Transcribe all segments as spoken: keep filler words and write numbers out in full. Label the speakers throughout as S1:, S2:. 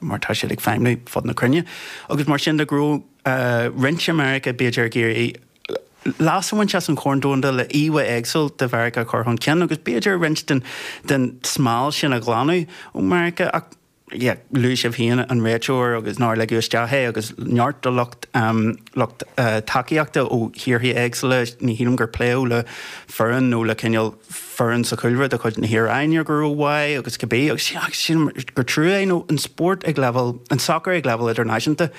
S1: mar tá siad ag feidhmiú fud na cruinne. Agus mar sin de go raibh roinnt i Meiriceá b'fhéidir ag iarraidh leas a bhaint as an Chorn Domhanda le íomhá éagsúil de Mheiriceá a chur chun cinn agus b'fhéidir roinnt den den smál sin a ghlanadh ó Mheiriceá ach yeah, luaigh sibh féin an réiteoir agus nár ligeadh isteach é agus neart de lucht um, lucht uh, tacaíochta ó thíortha éagsúla ní shílim gur pléadh le foireann nó le cineál foireann sa chúlra de chuid na hIaráine go raibh agus cibé agus sin gur trua é nó an spórt ag level an soccer ag level idirnáisiúnta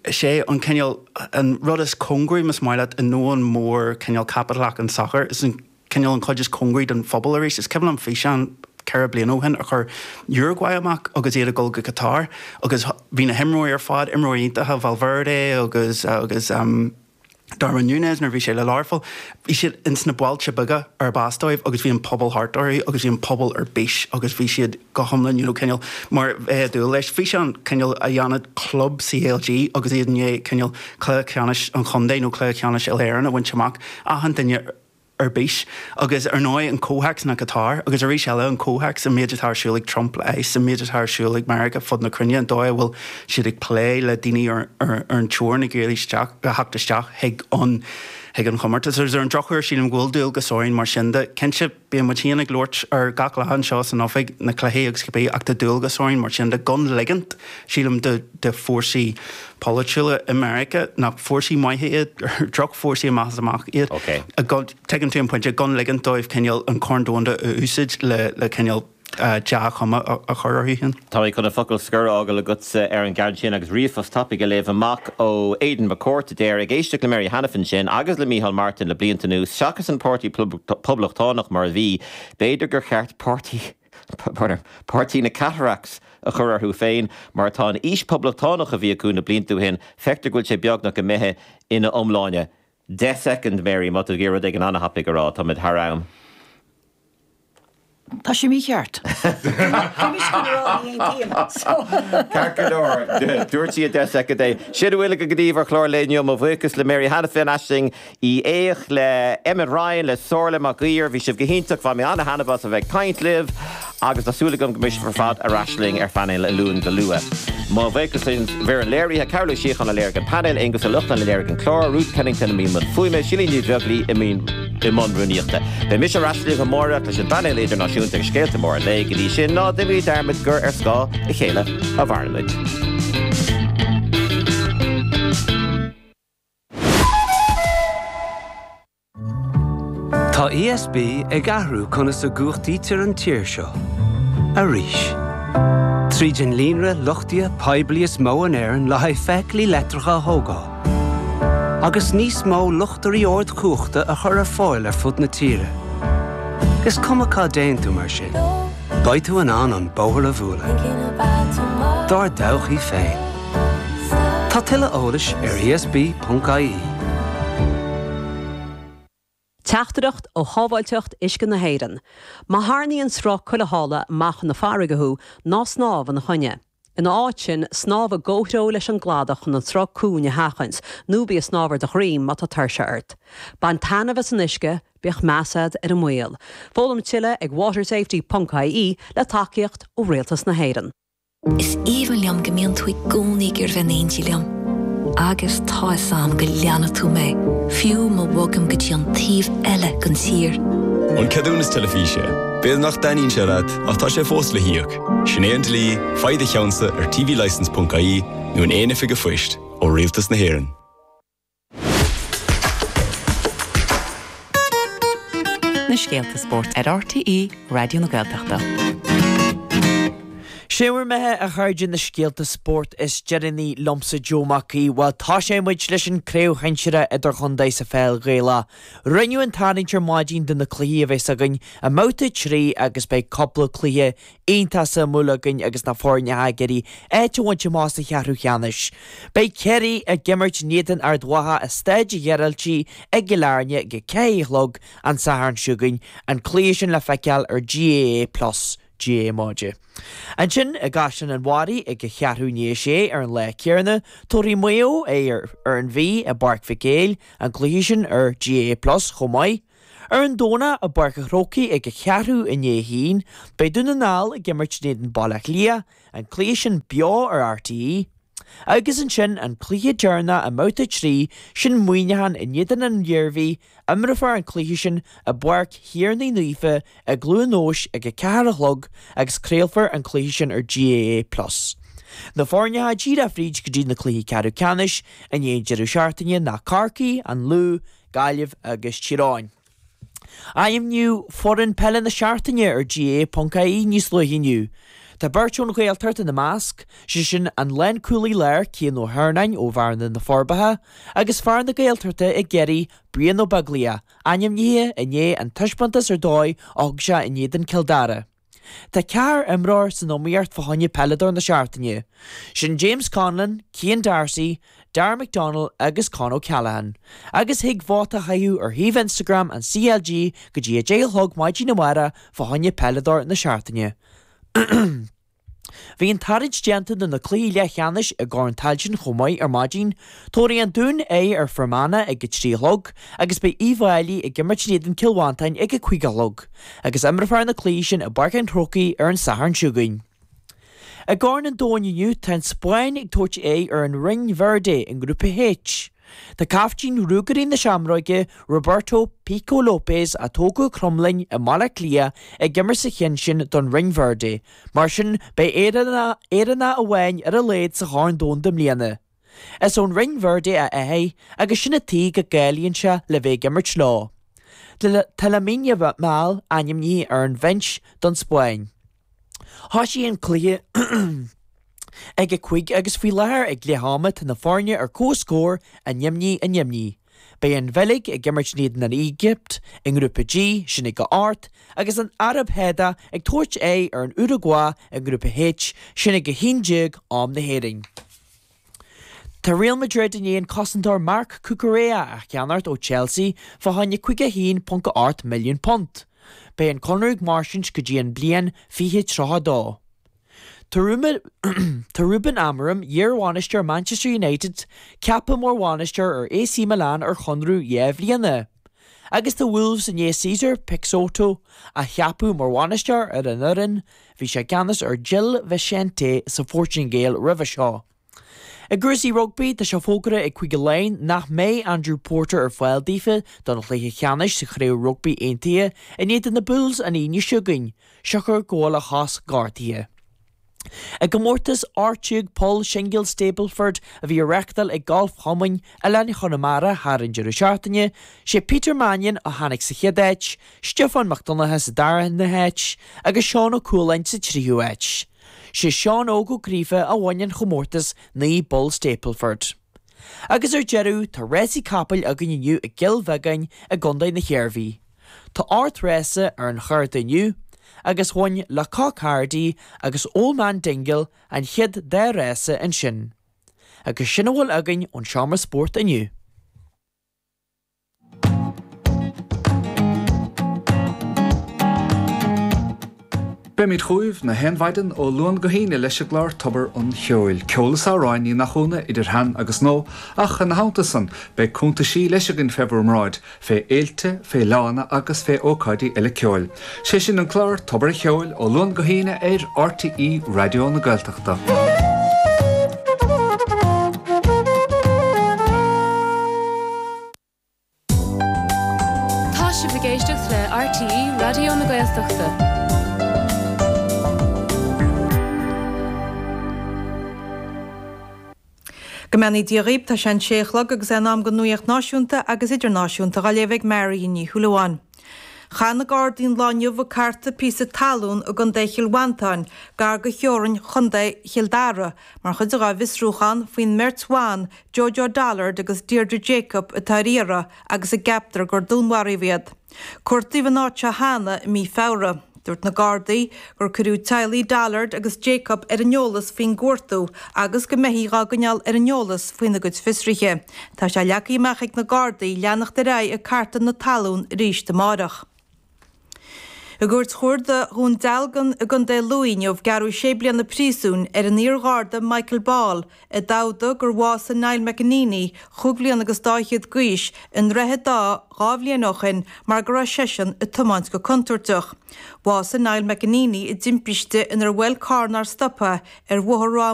S1: sé an cineál an rud is cóngaraí más maith leat i ndomhan mór cineál caipitleach an soccer is an cineál an chuid is cóngaraí don phobal arís is cuimhin liom físeán ceithre bliana ó shin a chuir Uruguay amach agus iad ag dul go Qatar agus bhí na himreoirí ar fad imreoirí iontacha Valverde agus agus um, Darwin Núñez nuair bhí sé le Learpholl, bhí siad ins na bailte beaga ar bas dóibh agus bhí an pobal thart orthu agus bhí an pobal ar bís agus bhí siad go hiomlán you know, cineál mar bheith dúil leis. Bhí sé an cineál a dhéanamh club CLG agus iad inné cineál cluiche ceannais an chontae nó cluiche ceannais Éireann a bhaint amach achan duine ar bís agus ar ndóigh an comhthéacs na Qatar agus arís eile an comhthéacs an méid atá ar siúl ag Trump le ICE an méid atá ar siúl ag Meiriceá fud na cruinne an dóigh a bhfuil siad ag plé le daoine ar, ar, ar an teorainn ag iarraidh isteach a theacht isteach chuig an chuig an chomórtas. Agus ar an drochuair sílim go bhfuil dualgas orainn mar sin de cinnte bíonn muid féin ag labhairt ar gach lá anseo san oifig na cluichí agus cibé ach tá dualgas orainn mar sin de gan ligint sílim de, de fórsaí polaitiúla i Meiriceá nach fórsaí maithe iad drochfhórsaí amach is amach iad.
S2: Okay.
S1: A gan- Tuigeann tú an pointe gan ligint dóibh cineál an Corn Domhanda a úsáid le le cineál uh, dea-chuma a, a chur orthu féin.
S2: Tá mé chun an focal scoir a fhágáil agatsa ar an gceann sin agus ríomhphost tapaidh a léamh amach ó Aidan McCourt a deir ag éisteacht le Mary Hanafin sin agus le Micheál Martin le blianta anuas seachas an páirtí poblachtánach mar a bhí, b'fhéidir gur cheart páirtí Páirtí na Cataracts a chur orthu féin mar tá an fhís poblachtánach a bhí acu na blianta ó shin, feictear go bhfuil sé beagnach imithe ina iomláine. Deich second Mary má tá rud éigin an-thapaidh a rá tá thar am.
S3: Tá sé mícheart.
S2: Ceart dúirt sí deich soicind é. Sin a bhfuil go dtí ar chlár inniu mo bhuíochas le Mary Hanafin Aisling Uí Fhéich le Emmet Ryan le Somhairle McGuire, bhí sibh go hiontach bhain mé an-taitneamh as a bheith ag caint libh agus tá súil agam go mbeidh sibh ar fad ar ais linn ar phainéal an Luain go luath. Mo bhuíochas leis an bhfoireann léirithe Cearbhall Ó Síocháin a léirigh an painéal Aonghus Ó Lochlainn a léirigh an clár Ruth Kennington i mbun fuaime Síle Ní Bheaglaoich i i mbun rúnaíochta. Beidh mise ar ais libh amárach leis an bpainéal idirnáisiúnta agus scéalta móra an lae go dtí sin ná déanaimid dearmad gur ar scáth a chéile a mhaireann muid.
S4: Tá ESB ag athrú conas a chumhachtaítear an tír seo. Arís. Tríd an líonra luchtaithe poiblí is mó in Éirinn le haghaidh feithiclí leictreacha a thógáil. Agus níos mó luchtairí ardchumhachta a chur ar fáil ar fud na tíre. Is cuma cá dtéann tú mar sin. Beidh tú in ann an bóthar a bhualadh. Dár dtodhchaí féin. Tá tuilleadh eolais ar ESB.ie.
S5: Teachtaireacht ó Shábháilteacht Uisce na hÉireann. Má tharraingíonn sruth culaithála amach na farraige thú ná snámh ina choinne. Ina áit sin snámh i gcomhthreo leis an gcladach chun an sruth cúng a sheachaint, nó bí ag snámh ar do dhroim má tá tuirse ort. Bain taitneamh as an uisce, bíodh meas agat ar an mbaol. Foghlaim tuilleadh ag watersafety.ie le tacaíocht ó Rialtas na hÉireann.
S6: Is aoibhinn liom go mbíonn tú i gcónaí ag iarraidh bheith in éindí liom. Agus tá a fhios agam go leanfaidh tú mé, fiú má bhogaim go dtí an taobh eile den tír.
S7: An ceadúnas teilifíse, B'fhéidir nach dtaitníonn sé leat ach tá sé fós le híoc. Sin é an dlí, faigh do cheannsa ar tvlicence.ie nó in aon oifig an phoist ó Rialtas na hÉireann.
S8: Na scéalta spóirt ar RTÉ Raidió na Gaeltachta.
S9: Sé bhur mbeatha a chairde na scéalta spóirt is deireanaí liomsa Joe Mac Aoidh, bhuel tosóidh muid leis an craobh shinsear idirchontae sa pheil Ghaelach. Rinneadh an tarraingt ar maidin do na cluichí a bheas againn i mbabhta trí agus beidh cúpla cluiche iontach suimiúil againn agus na foirne ag iarraidh áit a bhaint amach sa cheathrú cheannais. Beidh Ciarraí ag imirt in éadan Ard Mhacha i Staid an Ghearaltaigh i gCill Airne ag a ceathair a chlog an Satharn seo chugainn, an cluiche sin le feiceáil ar GAA Plus. GAA Maide. Ansin i gCaisleán an Bharraigh ag a cheathrú i ndiaidh a sé ar an lá céanna, tabharfaidh Maigh Eo aghaidh ar an Mhí i bPáirc Mhic Éil, an cluiche sin ar GAA Plus chomh maith. Ar an Domhnach i bPáirc an Chrócaigh ag a ceathrú i ndiaidh a haon, beidh Dún na nGall ag imirt in éadan Baile Átha Cliath, an cluiche sin beo ar RTÉ. Agus ansin an cluiche deireanach i mbabhta a trí, sin Muineachán in éadan an Iarmhí, imreofar an cluiche sin i bPáirc Thiarnaigh Naofa i gCluain Eois ag a ceathair a chlog agus craolfar an cluiche sin ar GAA Plus. Na foirne atá díreach fríd go dtí na cluichí ceathrú ceannais i ndiaidh an deireadh seachtaine ná Corcaigh, An Lú, Gaillimh agus Tír Eoghain. Ainmníodh foireann peile na seachtaine ar GAA.ie níos luaithe inniu. Tá beirt ón Ghaeltacht ina measc, sé sin an lánchúlaí láir Cian Ó hEarnáin ó Bhearna na Forbacha agus fear na Gaeltachta i gCiarraí, Brian Ó Beaglaoich, ainmnithe i ndiaidh an taispeántas ar dóigh a thug sé in éadan Cill Dara. Tá ceathrar imreoir san iomaíocht fá choinne peileadóir na seachtaine. Sin James Conlon, Cian D'Arcy, Darragh McDonnell agus Con O'Callaghan. Agus thig vóta a chaitheamh ar shuíomh Instagram an CLG go dtí a deich a chlog maidin amárach fá choinne peileadóir na seachtaine. Bhí an tarraingt déanta do na cluichí leathcheannais i gCorn Tailteann chomh maith ar maidin. Tabharfaidh an Dún aghaidh ar Fhear Manach ag a trí a chlog agus beidh Uíbh Fhailí ag imirt in éadan Cill Mhantáin ag a cúig a chlog agus imreofar na cluichí sin i bPáirc an Chrócaigh ar an Satharn seo chugainn. I gCorn an Domhain inniu tá an Spáinn ag tabhairt aghaidh ar an Rinn Verde i nGrúpa H. Tá caiftín Ruagairí na Seamróige, Roberto Pico Lopes, a tógadh i Cromghlinn i mBaile Átha Cliath, ag imirt sa cheann sin don Rinn Verde. Mar sin, beidh Éireannach amháin ar a laghad sa Chorn Domhanda i mbliana. Is ón Rinn Verde a athair agus sin an tuige go gcáilíonn sé le bheith ag imirt leo. Tá Lamine Yamal ainmnithe ar an bhinse don Spáinn. Thosaigh an cluiche ag a cúig agus faoi láthair ag leath ama tá na foirne ar comhscór, a naoi a naoi. Beidh an Bheilg ag imirt in éadan an Éigipt i nGrúpa G, sin ag a hocht, agus an Araib Shádach ag tabhairt aghaidh ar an Uragua i nGrúpa H, sin ag a haon déag am na hÉireann. Tá Real Madrid i ndiaidh an cosantóir Marc Cucurella a cheannacht ó Chelsea fá choinne caoga a haon ponc a ocht milliún punt. Beidh an conradh ag mairstint go dtí an bliain fiche tríocha a dó. Tá Ruben Amorim, iar-bhainisteoir Manchester United, ceaptha mar bhainisteoir ar AC Milan ar chonradh dhá bhliana. Agus tá Wolves i ndiaidh Cesar Peixoto a cheapadh mar bhainisteoir ar an fhoireann, bhí sé i gceannas ar Gil Vicente sa Phortaingéil roimhe seo. I gcúrsaí rugbaí, tá sé fógartha ag Cúige Laighean nach mbeidh Andrew Porter ar fáil daofa don chluiche ceannais sa Chraobh Rugbaí Aontaithe in éadan na Bulls an Aoine seo chugainn, siocair go bhfuil a chos gortaithe. I gcomórtas ocht déag poll singil Stableford a bhí á reáchtáil ag Galf Chumann Oileáin Chonamara thar an deireadh seachtaine, sé Peter Mannion a tháinig sa chéad áit, Stiofán Mac Donncha sa dara háit agus Seán Ó Cualáin sa tríú háit. Sé Seán Óg Ó Gríofa a bhain an chomórtas naoi bpoll Stableford. Agus ar deireadh, tá rásaí capaill againn inniu i gCill Bheagáin i gContae na hIarmhí. Tá ocht rása ar an chárta inniu, agus bhain Le Coq Hardy agus Old Man Dingle an chéad dá rása ansin. Agus sin a bhfuil againn ón seomra spóirt inniu.
S3: Beimid chugaibh na haon mhaidin ó Luan go hAoine leis an gclár Tobar an Cheoil. Ceol is amhráin, ní nach ionadh, idir shean agus nua, ach ina theannta san, beidh cuntaisí leis againn fé bhur mbráid, fé fhéilte, fé fhleánna agus fé ócáidí eile ceoil. Sé sin an clár Tobar an Cheoil ó Luan go hAoine ar RTÉ Raidió na Gaeltachta.
S10: Tá sibh ag éisteacht le RTÉ Raidió na Gaeltachta.
S11: Go mbeannaí Dia dhaoibh, tá sé an sé a chlog agus é in am don nuaíocht náisiúnta agus idirnáisiúnta dhá léamh ag Mary Ní Shúilleabháin. Chaith na Gardaí an lá inniu ag cartadh píosa talún i gContae Chill Mhantáin, gar do theorainn Chontae Chill Dara, mar chuid dá bhfiosrúchán faoin mbeirt bhan, Jojo Dollard agus Deirdre Jacob, atá ar iarraidh agus a gceaptar gur dúnmharaíodh iad. Cuartaíodh an áit seo cheana i mí Feabhra. Dúirt na Gardaí gur cuireadh teaghlaigh Dollard agus Jacob ar an eolas faoin gcuartú agus go mbeifí dhá gcoinneáil ar an eolas faoina gcuid fiosruithe. Tá sé leagtha amach ag na Gardaí leanacht ar aghaidh ag cartadh na talún arís amáireach. I gCúirt Chuarda Dhún Dealgan i gContae Lú inniu gearradh sé bliana príosúin ar an iar-gharda Michael Ball i dtaobh gur bhásaigh Niall McEneaney, chúig bhliana agus dá fhichead d'aois, i nDroichead Átha dhá bhliain ó shin mar go raibh seisean ag tiomáint go contúirteach. Bhásaigh Niall McEneaney i dtimpiste inar bhuail carr nár stoptha ar Bhóthar Ráth